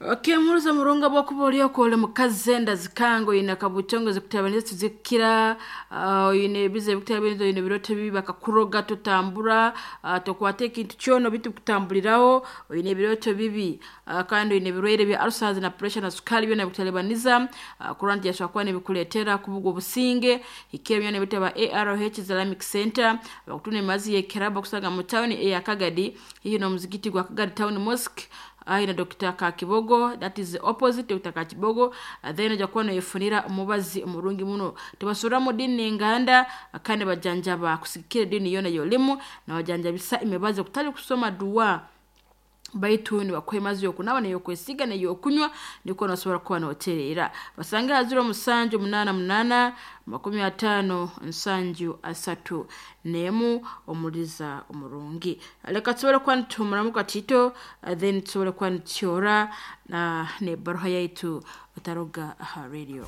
Okemuruza murunga bwokuba oli okwo oli mukazi, enda zikanga, oine akabutongo zikutabaniza tizikukira, oine ebizibu ebikutabaniza, oine ebirooto bibi, bakakuroga totambura, tokwata ekintu kyona bitu kutambuliraho, oine ebirooto bibi, kandi oine ebirwaire bya ulcers na pressure na sukali, byona bikutalibaniza, kurora nti yasobora kuba nibikuleetera kubugwa obusinge. Hikira byona ebitaba ARH Islamic Center, bakutunda emibazi y'ekirabo kusanga mu town eya Kagadi, haihi n'omuzigiti gwa Kagadi Town Mosque, ayi na Dr. Kakibogo, that is the opposite Dr. Kakibogo. Then ojja kuba noyefunira omubazi omurungi muno. Tibasuramu dini n'enganda, kandi bajanjaba kusigikira edini yoona yolimu, nabajanjabisa emibazi okutali kusoma duwa, baitu nibakuha emazi y'okunaaba n'ey'okwesiga n'ey'okunywa, nikwo nosobora kuba notereera. Basange ha 0788 50 73 omuliza omurungi. Leka tusobole kuba nituhumuramu katito, then tusobole kuba nitutyora n'ebbaruha yaitu otaruga aha radio.